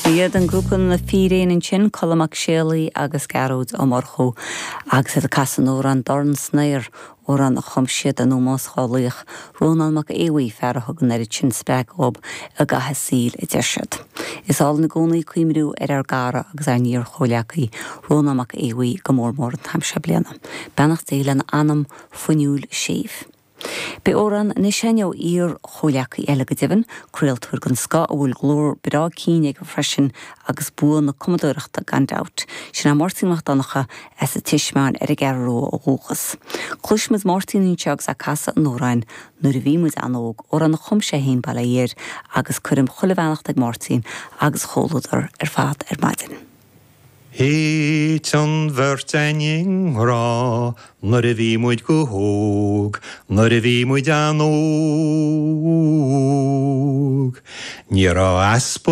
Iad an grúpa Na Fíréin ansin, Colm Mac Séalaigh agus Gearóid Ó Murchú, agus iad ag casadh an amhráin Dorn san Aer, amhrán a chum siad in ómós dhá laoch, Rónán Mac Aodha Bhuí, fear a thug an oiread sin spreagadh dhób i gcaitheamh a saoil, a deir siad. Is álainn i gcónaí cuimhniú ar ár gcara agus ár n-iar-chomhleacaí, Rónán Mac Aodha Bhuí, go mór mór an t-am seo bliana. Beannacht Dé lena anam fuinniúil séimh. Beidh amhrán anois againn ó iar-chomhleacaí eile go deimhin, craoltóir den scoth a bhfuil glór breá cinn aige freisin agus bua na cumadóireachta gan dabht. Sin é Máirtín Mac Donncha as an tSiosmeáin ar an gCeathrú Rua ó dhúchas. Cloisfimid Máirtín anseo agus é ag casadh an amhráin Nuair a Bhí Muid An-Óg, amhrán a chum sé féin bail ó Dhia air, agus cuirim chuile bheannacht ag Máirtín agus a chomhluadar ar fad ar maidin. Thit an bheirt a'inn i ngrá nuair a bhí muid go hóg, nuair a bhí muid an-óg. Ní raibh easpa.